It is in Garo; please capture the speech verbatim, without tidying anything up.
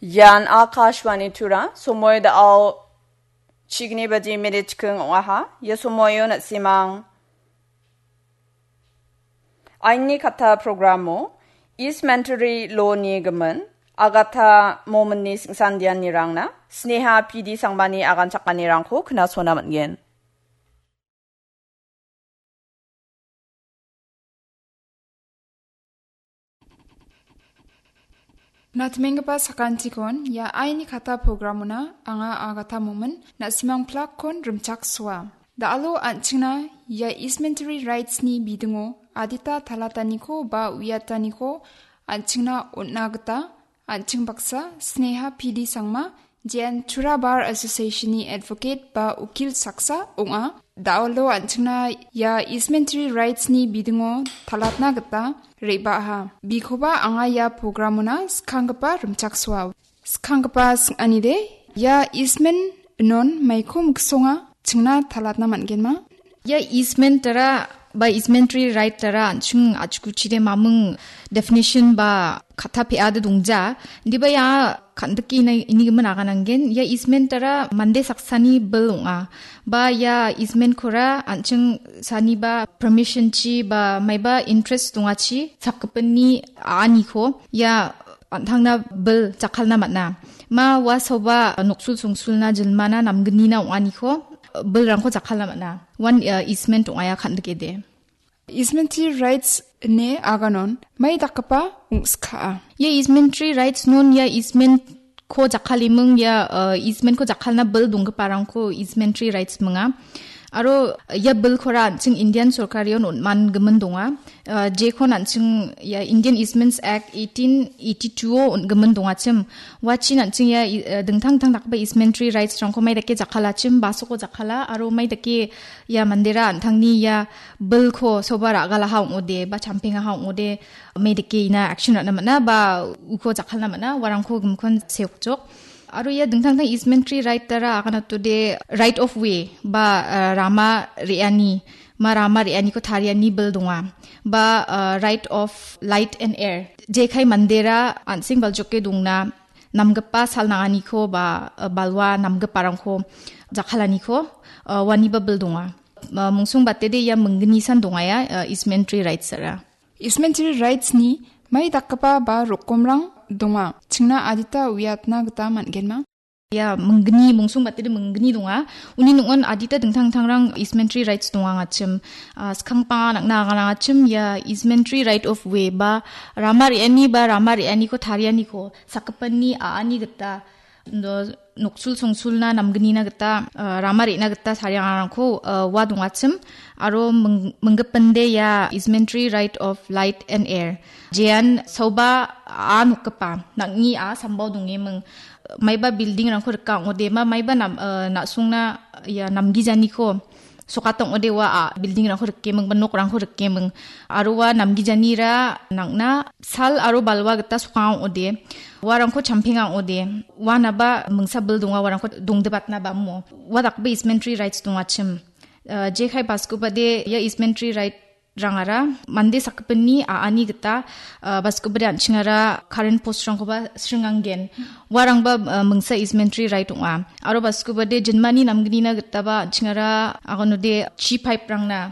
Ian Akashvani Tura, somoi da·ao chigni baji minit chikking ong·aha. Ia somoio na·simang Aini Kata programo East Mentary Law-ni gimin Agata Mominni singsandianirangna Sneha P D Sangmani agan chakanirangko knasona man·gen. Natmenggipa sakantikon ia Aini Kata programona anga Agata Momin na·simang plakkon rimchaksoa. Da·alo an·chingna ia East Mentary Rights-ni bidingo adita talataniko ba uiataniko an·chingna on·a gita an·ching baksa Sneha P D Sangma, J N Tura Bar Association-ni advocate ba ukil saksa ong·a. Da·alo an·chingna ia East Mentary Rights-ni bidingo talatna gita re·baaha. Bikoba anga ia programona skanggipa rimchaksoa. Skanggipa sing·anide, ia Eastman non maiko miksonga chingna talatna man·genma? Ia Eastman tara ba East Mentary Right tara an·ching a·chikuchide maming definition ba kata pe·ade dongja. Indiba ia kan·dike ina-, inigimin agananggen. Ia Eastman tara mande saksani bil ong·a. Ba ia Eastman-kora an·ching saniba permission-chi ba maiba interest dongachi sakgipinni a·aniko ia an·tangna bil jakkalna man·a. Ma ua saoba noksul songsulna jilmana namgnina ong·aniko bilrangko jakkalna man·a. Uan, eh, easement ong·a ia kan·dikede. Easement rights ine aganon mai dakgipa ong·skaa. Ia easement rights non ia easement ko jakkaliming ia, eh, easement ko jakkalna bil donggiparangko easement rights minga. Aro ia bilkora an·ching Indian sorkarion on·mangimin donga. Ah, jekon an·ching ia Indian Easements Act eighteen eighty-two-o on·gimin dongachim. Uachin an·ching ia i-, eh, dingtang dingtang dakgipa easementary rights-rangko mai dake jakkalachim, basoko jakkala, aro mai dake ia mandera an·tangni ia bilko soba ra·galaha ong·ode, ba champengaha ong·ode, mai dake ina action ra·na man·a, ba uko jakkalna man·a, uarangko gimikon seokjok. Aro ia dingtang dingtang easementary right dara aganatode right of way ba, eh, rama re·ani, ma rama re·aniko tariani bil donga. Ba, eh, right of light and air. Jekai mandera an·seng baljoke dongna, namgipa sal nanganiko ba, eh, balwa namgiparangko jakkalaniko, eh, uaniba bil donga. Eh, mungsong batede ia minggni san donga ia, eh, easementary rights ara. Easementary rights-ni mai dakgipa ba rokomrang donga. Chingna adita uiatna gita man·genma? Ia minggni, mungsong batede minggni donga. Uni ning·on adita dingtang dingtangrang easementary rights dongangachim. Ah, skangpanga nang·na aganangachim, ia easementary right of way ba rama re·ani ba rama re·aniko tarianiko sakgipinni a·ani gita, do-, noksul songsulna namgnina gita, ah, rama re·na gita tariangarangko, ah, ua dongachim. Aro ming-, minggipinde ia easementary right of light and air. Jean saoba a nokgipa, nang·ni a sambao dongeming, maiba building-rangko rika ong·ode, ma-, maiba nam-, ah, na·songna ia namgijaniko sokata ong·ode ua, a, building-rangko rikeming ba nokrangko rikeming. Aro ua namgijanira nang·na sal aro balwa gita sokanga ong·ode. Uarangko champenga ong·ode. Uanaba mingsa bil donga uarangko dongdebatna ba mo. Ua dakgipa easementary rights dongachim. Eh, jekai baskobade ia easementary right rangara mande sakgipinni a·ani gita, ah, baskobade an·chingara current post-rangkoba sringanggen. Uarangba, ah, mingsa easementary right ong·a. Aro baskobade jinmani namgnina gitaba an·chingara agonode chi pipe-rangna